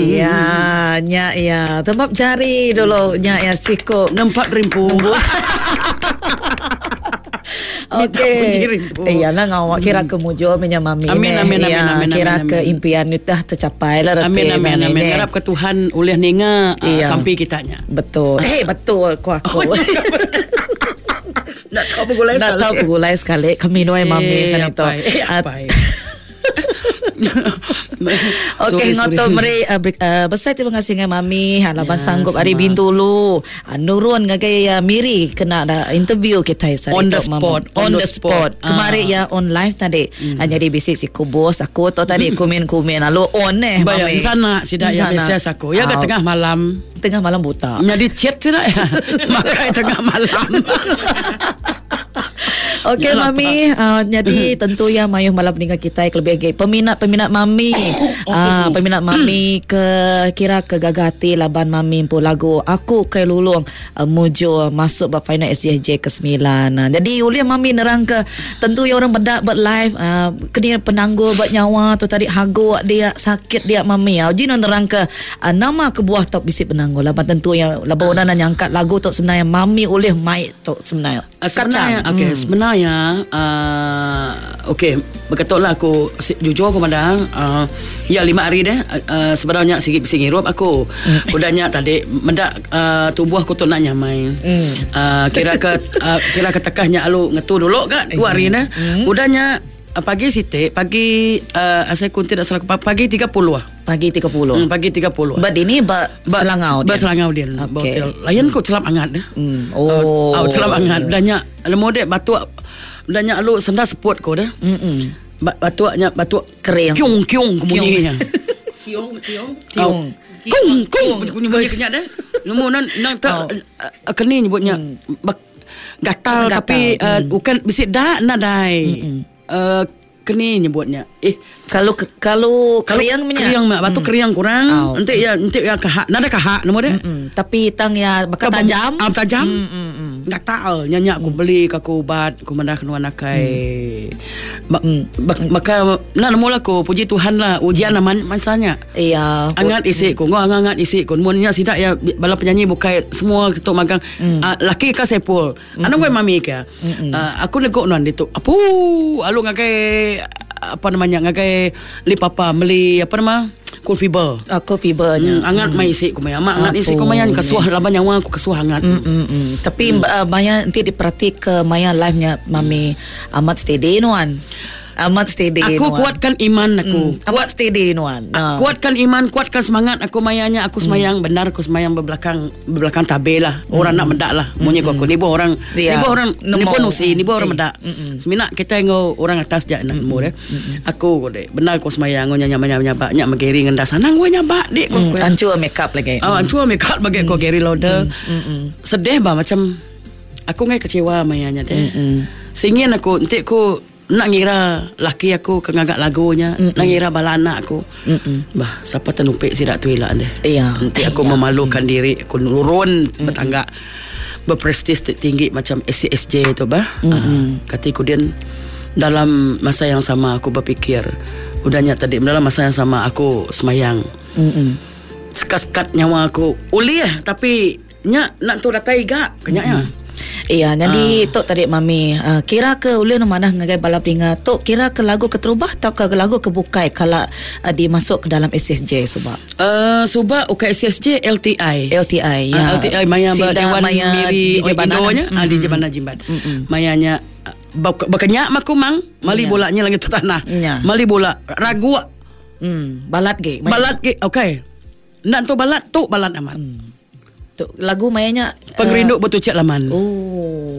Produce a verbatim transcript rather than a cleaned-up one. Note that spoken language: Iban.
Ya, nya ya. Tembap jari dulu nya ya siku. Nempat rimpu. Okey. Iya lah ngawak kira ke mujur menya mami. Amin amin amin amin. Kira ke impian itu dah tercapai lah reti. Amin amin amin. Harap ke Tuhan ulih ninga uh, sampai kitanya. Betul. Eh betul ku aku. Nak tahu begulai sekali. Nak tahu begulai sekali. Kami nuai mami sana tu. Okey ngoto meri uh, uh, besai terima kasih dengan mami ha laban ya, sanggup hari Bintulu uh, nurun ngagai uh, Miri kena da interview kita sari on the spot on, on the spot, spot. Kemari ah. ya on live tadi mm. uh, jadi bisi si kubus aku tu tadi mm. kumin-kumin lalu on eh mami sana sida ya biasa aku ya ke tengah malam tengah malam buta jadi chat sida ya makai tengah malam. Okey mami, uh, jadi tentu ya mayuh malam meninggal kita lebih lagi peminat-peminat mami. Ah uh, peminat mami ke kira ke gagah hati laban mami pun lagu Aku Kai Lulung uh, muju masuk ba final S S J ke sembilan. Uh, jadi uliah mami nerang ke tentu ya orang bedak buat live uh, kena penanggul buat nyawa tu tadi hago dia sakit dia mami. Uh, ji nerang ke uh, nama kebuah tok bisi penanggul laban tentu ya laban orang nak nyangkat lagu tok sebenarnya mami ulih mai tok sebenarnya. Uh, sebenarnya okey hmm. sebenarnya ya, uh, okey berkatoklah aku jujur aku madang uh, ya lima hari dah uh, sebenarnya sikit bising hirup aku. Mm. Udahnya tadi mendak uh, tubuh aku tu nak nyamai. Mm. Uh, kira ke uh, kira ke tekahnya alu ngetu dulu kan dua hari dah. Mm. Udahnya uh, pagi siti pagi uh, asal ku tidak salah pagi tiga puluh. Pagi tiga puluh. Hmm, pagi tiga puluh. Ba ini ba Selangau dia. Ba Selangau dia. Okey. Layan ku celap angat dah. Mm. Oh. Uh, celap angat. Udahnya lemo dek batuk udahnya alu senda seput ko dah. Mm. Batuknya batuk kering. Kiung kiung bunyinya. Kiung kiung. Kiung. Kung kung bunyi bunyi kenyak dah. Lemo nan nang tak keni nyebutnya gatal tapi bukan bisik dak nadai. Uh, keni nyebutnya. Eh kalau kalau keriang punya. Keriang mak batu keriang kurang. Oh. Nanti ya nanti ya kahak. Nada kahak nama dia. Mm-mm. Tapi tang ya bakal tajam. Ah tajam. Gatal nyanyak aku beli ke aku ubat aku mandah kenuan akai. Mm. Maka nak nemu lah aku puji Tuhan lah ujian lah man, mansanya. Iya. Angat isi ku ngau angat isi ku mun nya sidak ya bala penyanyi bukai semua ketuk magang mm. uh, laki ka sepul. Mm. Anu gue mami ka. Uh, aku negok nuan ditu. Apu alu ngagai apa namanya ngagai li papa meli apa nama cool fever. Ah, cool fevernya. Hmm, angat hmm. mai isi ku mai amak angat isi ku mayan kesuah laban nyawa aku kesuah angat. Hmm, hmm, hmm. Tapi hmm. Uh, maya nanti diperhati ke maya live-nya mami hmm. amat steady nuan. Amat steady. Aku nuan. Kuatkan iman aku. Hmm. Amat steady nuan. Uh. Kuatkan iman, kuatkan semangat aku mayanya aku semayang hmm. benar aku semayang berbelakang berbelakang tabe lah. Orang hmm. nak mendak lah. Munyi hmm. aku ni bo orang yeah. ni bo orang ni bo nusi ni bo orang eh. mendak. Hmm. Semina kita ngau orang atas jak nak mu deh. Aku deh benar aku semayang ngau nyanya nyanya nyabak nyak megeri ngendas sanang gua nyabak dik ku. Hmm. Ancur make up lagi. Ah ancur make up bagi aku Gary Lauder. Sedih bah macam aku ngai kecewa mayanya deh. Singin aku entik ku nak ngira laki aku ke ngagak lagunya, mm-mm. nak ngira bala anak aku. Mm-mm. Bah, siapa ternumpik sidak tu elak deh. Iya. Nanti aku iya. memalukan mm. diri, aku nurun Mm-mm. bertangga berprestis tinggi macam S C S J tu bah. Uh, kata kemudian dalam masa yang sama aku berfikir, udahnya tadi dalam masa yang sama aku semayang. Mm-mm. Sekat-sekat nyawa aku ulih tapi nya nak tu datai gak kenyaknya. Mm-mm. Iya, jadi uh. tok tadi mami uh, kira ke ulih nu manah ngagai bala peninga tok kira ke lagu keterubah atau ke lagu kebukai kalau uh, dimasuk ke dalam S S J subak. Uh, subak ukai S S J L T I. L T I ya. Uh, L T I maya Sida, Dewan maya Miri D J Indonya, mm-hmm. ah D J Bana Jimbat. Mm-hmm. Mayanya berkenyak maku mang, mali yeah. bolanya lagi tu tanah. Yeah. Mali bola ragu. Hmm, balat ge. Balat ge, okey. Nak tu balat tu balat amat. Mm. Lagu mayanya Pengerindu uh, Bertucik Laman. Oh.